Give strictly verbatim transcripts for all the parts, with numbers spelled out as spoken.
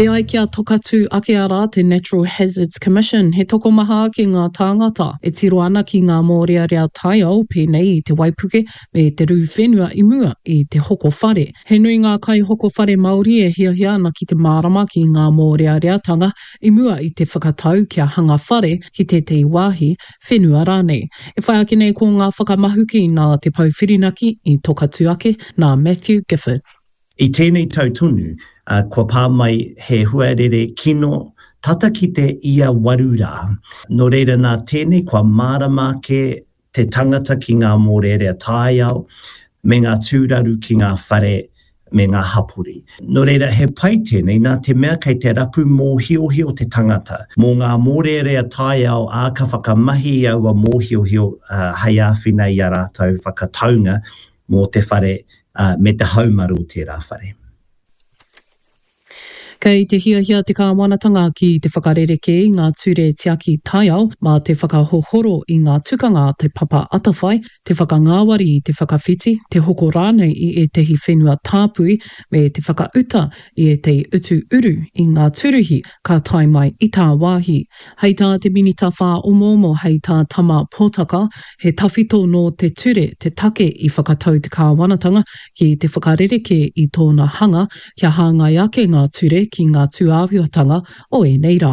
E ai ki a Tokatū Ake arā te Natural Hazards Commission, he tokomaha ake ngā tāngata e tiro ana ki ngā mōrearea taiao pēnei i te waipuke me te rū whenua i mua i te hoko whare. He nui ngā kaihoko whare Māori e hiahia ana ki te mārama ki ngā mōreareatanga i mua i te whakatau kia hanga whare ki tētehi wāhi, whenua rānei. E whai ake nei ko ngā whakamahuki nā Te Pou Whirinaki i Tokatū Ake, nā Matthew Gifford. I tēnei tau tonu, kua pā mai he huarere kino tata ki te ia waru rā. Nō reira nā tēnei kua mārama ake te tangata ki ngā mōrearea taiao me ngā tūraru ki ngā whare me ngā hapori. Nō reira he pai tēnei nā te mea kei te rapu mōhiohio te tangata mō ngā mōrearea taiao ā ka whakamahi i aua mōhiohio hei āwhina i a rātou whakataunga mō te whare me te haumaru o tērā whare. Kei te hiahia te kāwanatanga ki te whakarerekē i ngā ture tiaki taiao mā te whakahohoro i ngā tukanga a Te Papa Atawhai, te whakangāwari i te whakawhiti, te hoko rānei i ētahi whenua tāpui me te whakauta i ētahi utu uru i ngā tūruhi ka tae mai i tāwāhi. Hei tā te Minita Whāomoomo, hei tā Tama Potaka, he tawhito nō te ture te take i whakatau te kāwanatanga ki te whakarerekē i tōna hanga kia hāngai ake ngā ture ki ngā tūāhuatanga o ēnei rā.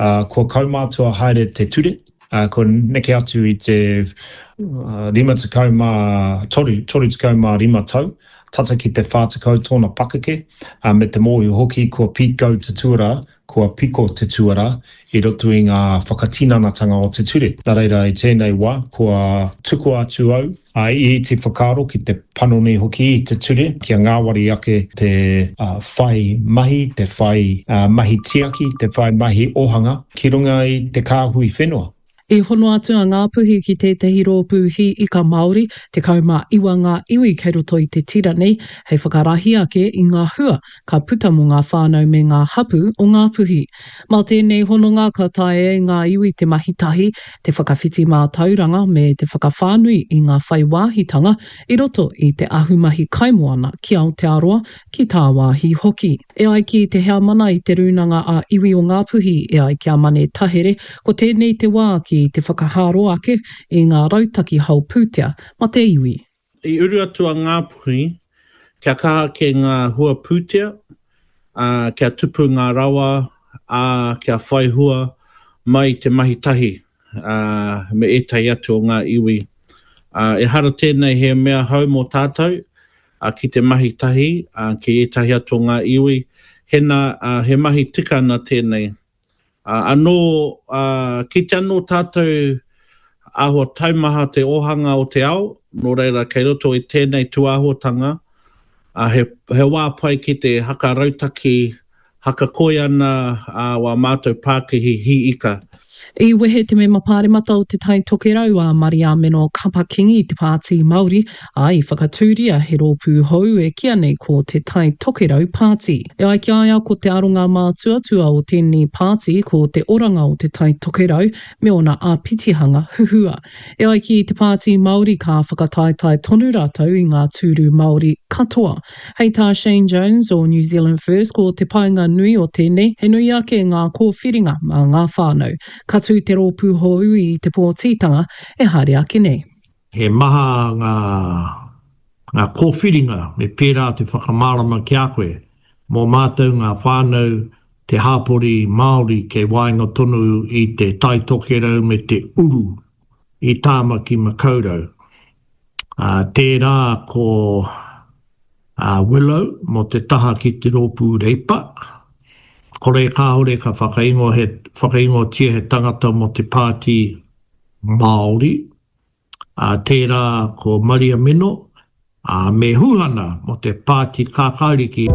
Ā, kua kaumātua haere te ture, ā, kua neke atu i te rima tekau mā toru, toru tekau mā rima tau, tata ki te whā tekau tōna pakeke, ā, me te mōhio hoki kua pīkau te tuarā, kua piko te tuarā i roto i ngā whakatinanatanga o te ture. Nā reira, i tēnei wā, kua tukua atu au i te whakaaro ki te panoni hoki i te ture kia ngāwari ake te whai mahi, te whai mahi tiaki, te whai mahi ohanga ki runga i te kāhui whenua. I hono atu a Ngāpuhi ki tētahi rōpū hī ika Māori, tekau mā iwa ngā iwi kei roto i te tira nei, hei whakarahi ake i ngā hua ka puta mō ngā whānau me ngā hapū o Ngāpuhi. Mā tēnei hononga ka taea e ngā iwi te mahi tahi, te whakawhiti mātauranga me te whakawhānui i ngā whai wāhitanga i roto i te ahumahi kaimoana ki Aotearoa, ki tāwāhi hoki. E ai ki te heamana i te Rūnanga a Iwi o Ngāpuhi, e ai ki a Mane Tahere, ko tēnei te wā ki te whakahāro ake i ngā rautaki hao pūtea ma te iwi. I uru atu a Ngāpuhi kia kaha ake ngā hua pūtea, ā, kia tupu ngā rawa, ā, kia whai hua mai i te mahi tahi me ētahi atu o ngā iwi. Ehara tēnei he mea hou mō tātou ki te mahi tahi ki ētahi atu o ngā iwi, hena he mahi tika ana tēnei. Anō, kite anō tātou āhua taumaha te ōhanga o te ao, nō reira kei roto i tēnei tūāhuatanga, he, he wā pai ki te haka rautaki, haka koi ana wā mātou pākihi hī ika. I wehe te mema pāremata o Te Tai Tokerau a Mariameno Kapa-King i te Pāti Māori, ā, i whakatūria he rōpū hou e kīa nei ko Te Tai Tokerau Pāti. E ai ki a ia ko te aronga mātuatua o tēnei pāti ko te oranga o Te Tai Tokerau me ōna āpitihanga huhua. E ai ki te Pāti Māori ka whakataetae tonu rātou i ngā tūru Māori katoa. Hei tā Shane Jones o New Zealand First ko te painga nui o tēnei he nui ake ngā kōwhiringa mā ngā whānau. Ka tū te rōpū hou i te pōtitanga e haere ake nei. He maha ngā ngā kōwhiringa me pērā te whakamārama ki a koe mō mātou ngā whānau te hāpori Māori kei waenga tonu i te Tai Tokerau me te uru i Tāmaki Makaurau. Ā, tērā ko a Willow mō te taha ki te rōpū Reipa. Kore kāore ka whakaingoa he, whakaingoatia he tangata mō te Pāti Māori. Ā, tērā ko Maria Mino, ā, me Huhana mō te Pāti Kākāriki.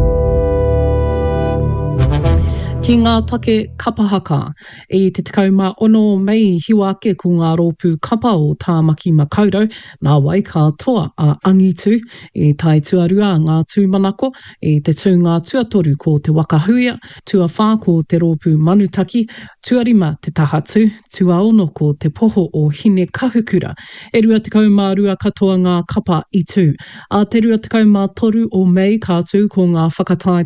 Ki ngā take kapa haka. I te tekau mā ono o Mei i hiwa ake ko ngā rōpū kapa o Tāmaki Makaurau, nāwai ka toa a Angitu. I tae tuarua ngā tūmanako, i te tūnga tuatoru ko Te Waka Huia, tuawhā ko te rōpū Manutaki, tuarima Te Tahatū, tuaono ko Te Poho o Hinekahukura. E rua tekau mā rua katoa ngā kapa i tū. Ā te rua tekau mā toru o Mei ka tū ko ngā whakataetae